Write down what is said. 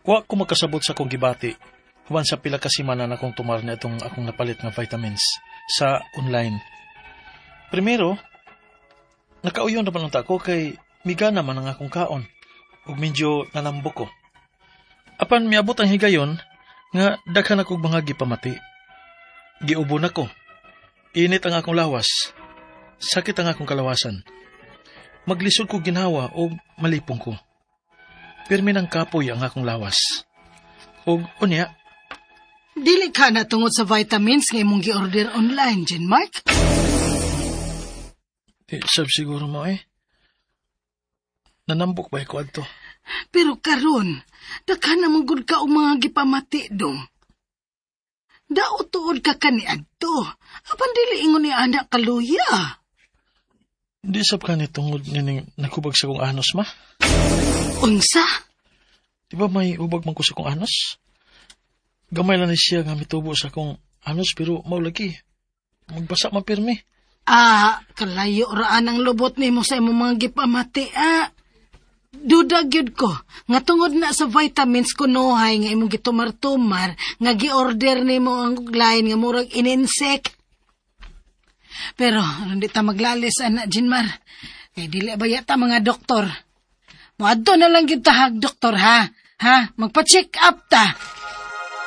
Wa ko makasabot sa akong gibati human sa pila ka semana na akong tumar na itong akong napalit nga vitamins sa online. Primero, nakauyon naman unta ko kay migana man ang akong kaon ug medyo nanambok ko. Apan miabot ang higayon nga daghan akong mga gipamati. Giubo na ko. Init ang akong lawas. Sakit ang akong kalawasan. Maglisod ko ginhawa o malipong ko. Pirmi ng kapoy ang akong lawas. Og unya, Dili ka na tungod sa vitamins nga imong gi-order online, Jean Mark? Di sab siguro mo eh. Nanambok ba ko adto? Pero karon, daghan na man gud ka og mga gipamati dong. Dao tuod ka kaniadto. Apan dili ingon ni anak kaluya. Di sab ka ni tungod nining naghubag sa kong anos, ma? Unsa? Di ba may hubag man ko sa kong anos? Gamay lang ni siya nga mitubo sa akong anos pero mao lagi. Magbasa man pirmi. Ah, kalayo raan ang lubot nimo sa imong mga gipamati, ah. Duda gyud ko nga tungod na sa vitamins kunohay nga imong gitumar-tumar nga gi-order nimo ang line nga murag ininsect. Pero aron di ta maglalis ana Jinmar. Kay dili ba yata mga doktor. Moadto na lang gyud ta hag doktor ha. Ha, magpa-check up ta.